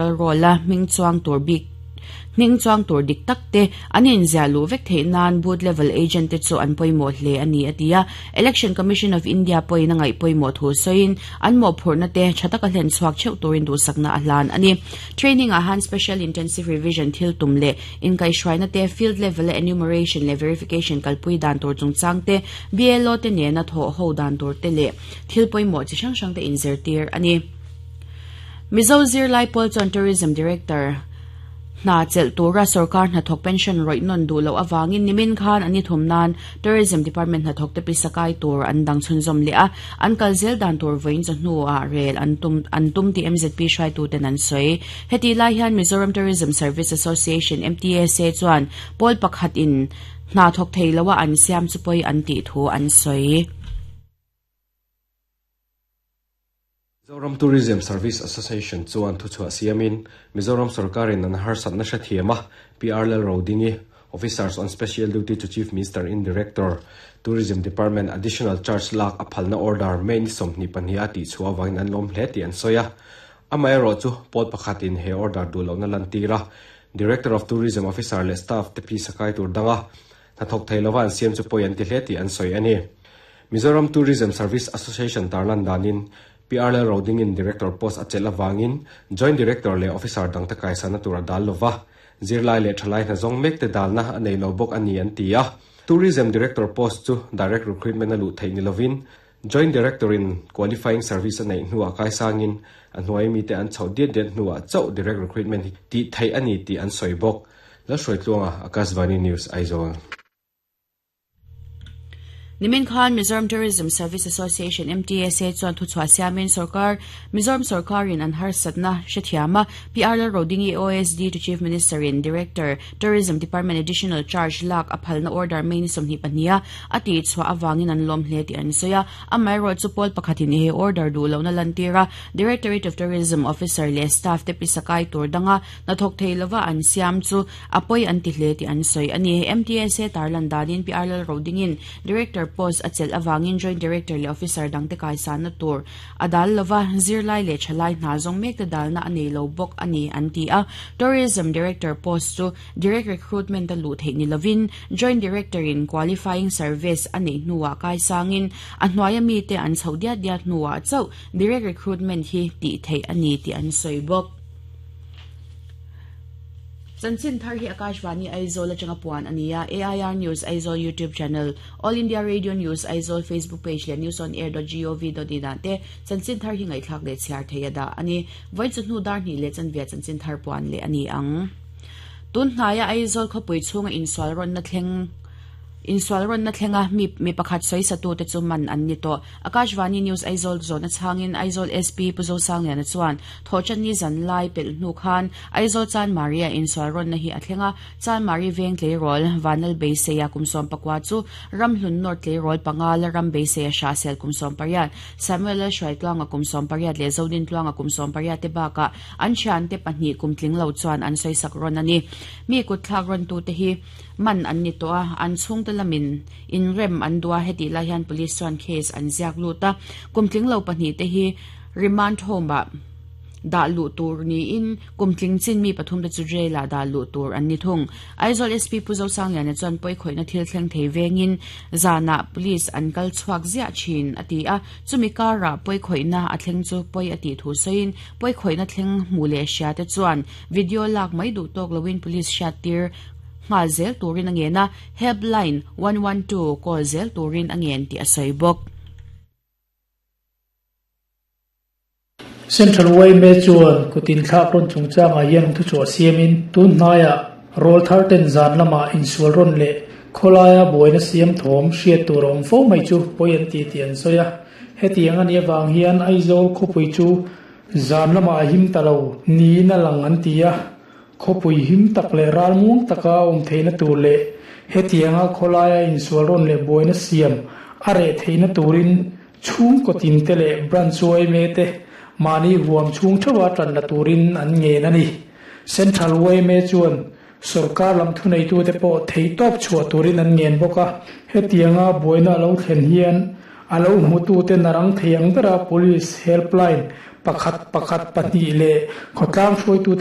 Roll a hming chuang tur bik hming chuang tur dik tak te an inziah luh vek theih nan booth level agent te chu an pawimawh hle a ni a ti a. Election Commission of India pawhin a ngaih pawimawh thu sawiin an mawhphurhna te tha taka hlen chhuak theuh turin duhsakna a hlan a ni. Training ah han Special Intensive Revision thil tum leh inkaihhruaina te, field level a enumeration leh verification kalpui dan tur chungchang te, BLO te nena thawh ho dan tur te leh thil pawimawh chi hrang hrang te inzirtir a ni. Mizo zirlai pawl chuan Tourism Director hna chelh tura sorkar hnathawk pension rawih nawn duh loh avangin nimin khan an i thum nan Tourism Department hnathawkte pisa kai tur an dang chhunzawm leh a, an kal zel dan tur vawiin chawhnuah rel an tum an tum tih MZP hruaituten an sawi. Hetih lai hian Mizoram Tourism Service Association, MTSA, chuan pawl pakhatin hna thawk thei loa an siam chu pawi an tih thu an sawi. Mizoram Tourism Service Association chuan thuchhuah siamin Mizoram sorkarin an harsatna hrethiam a, PR Lalrodingi, Officers on Special Duty to Chief Minister in Director, Tourism Department Additional Charge lak a phalna order May ni 22 a tihchhuah avangin an lawm hle tih an sawi a. Amaherawhchu, pawl pakhatin he order duh lohna lantir a, Director of Tourism Officer leh staff te phisa kai tur danga hnathawk thei lova an siam chu pawi an ti hle tih an sawi a ni. Mizoram Tourism Service Association tarlan danin PR Lalrodingin Director post a chelh avangin Joint Director leh Officer dangte kaisana tur a dal lova, zirlai leh thalai hna zawng mekte dalna a nei lo bawk a ni an ti a. Tourism Director post chu Direct Recruitment a luh theih ni lovin Joint Director in Qualifying Service a neih hnuah kaisangin a hnuai mite an chhoh diat diat hnuah chauh Direct Recruitment hi tih theih a ni tih an sawi bawk. Lalhruaitluanga, Akashvani News, Aizawl. Nimin khan Mizoram Tourism Service Association, MTSA, chuan thuchhuah siamin sorkar Mizoram sorkarin an harsatna hrethiam a, PR Lalrodingi OSD to Chief Minister in Director, Tourism Department Additional Charge lak a phalna order May ni 22 a a tihchhuah avangin an lawm hle tih an sawi a. Amaherawhchu pawl pakhatin he order duh lohna lantir a, Directorate of Tourism officer leh staff te pisa kai tur danga Hnathawk thei lova an siam chu a pawi an ti hle tih an sawi a ni. MTSA tarlan danin PR Lalrodingin Director post a chelh avangin Joint Director leh Officer dangte kaisanna tur a dal lova, zirlai leh thalai hna zawng mekte dalna a nei lo bawk a ni an ti a. Tourism Director post chu Direct Recruitment a luh theih ni lovin Joint Director in Qualifying Service a neih hnuah kaisangin a hnuaia mite an chhoh diat diat hnuah chauh Direct Recruitment hi tih theih a ni tih an sawi bawk. Chanchin thar hi Akashvani Aizawl atanga puan a ni a, AIR News Aizawl YouTube channel, All India Radio News Aizawl Facebook page leh newsonair.gov.in ah te chanchin thar hi ngaihthlak leh chhiar thei a dah a ni. Vawi chu hnu dar hnih leh chanvia chanchin thar puan leh a ni ang. Tun hnaia Aizawl khawpui chhunga insual rawnna thleng Insual rawnna thlenga mi mi pakhat sawisatute chu man an ni tawh. Akashvani News Aizawl zawhna chhangin Aizawl SP Pu Zosangliana chuan Thawhṭanni zan lai pelh hnu khan Aizawl Chanmari-a insual rawnna hi a thleng a, Chanmari veng tleirawl Vanal Beiseia kum 19 chu Ramhlun North tleirawl panga la ram Beiseia Hrahsel kum 18, Samuel Lalhruaitluanga kum 18 leh Zodintluanga kum 18 te bakah an thiante pahnih kum tling lo chuan an sawisak rawn a ni. Mi kutthlak rawntute hi Man an ni tawh a, an chhungte lamin inrem an duh a, hetih lai hian police chuan case an ziak lut a, kum tling lo pahnihte hi remand home-ah dah luh tur niin kum tling chin mi pathumte chu jail-ah dah luh tur an ni thung. Aizawl SP Pu Zosangliana chuan pawikhawihna thil thleng thei vengin zanah police an kal chhuak ziah thin a ti a, chumi karah pawikhawihna a thleng chu pawi a tih thu sawiin pawikhawihna thleng hmu leh hriate chuan video lak mai duh tawk loin police hriattir nghal zel turin a ngen a, helpline 112 call zel turin a ngen tih a sawi bawk. Central yma chuan kut inthlak rawn chungchangah hian thuchhuah siamin tun hnaiah rawl thar ten zan lamah insual rawn leh khawlaia buaina siam thawm hriat tur a awm fo mai chu pawi an ti tih an sawi a. Hetiang a nih avang hian Aizawl khawpui chu zan lamah a him ta lo niin a lang an ti a. Khawpui him tak leh ralmuang taka a awm theihna tur leh hetianga khawlaia insual rawn leh buaina siam a reh theihna turin chhungkaw tinte leh branch yma te mahni huam chhung theuha tan la turin an ngen a ni. Central yma chuan sorkar lam thuneitute pawh theihtawp chhuah turin an ngen bawk a, hetianga buaina a lo thlen hian a lo hmutute narang thei ang bera police helpline. Pakhat pakhat pahnih leh khawtlang hruaitu.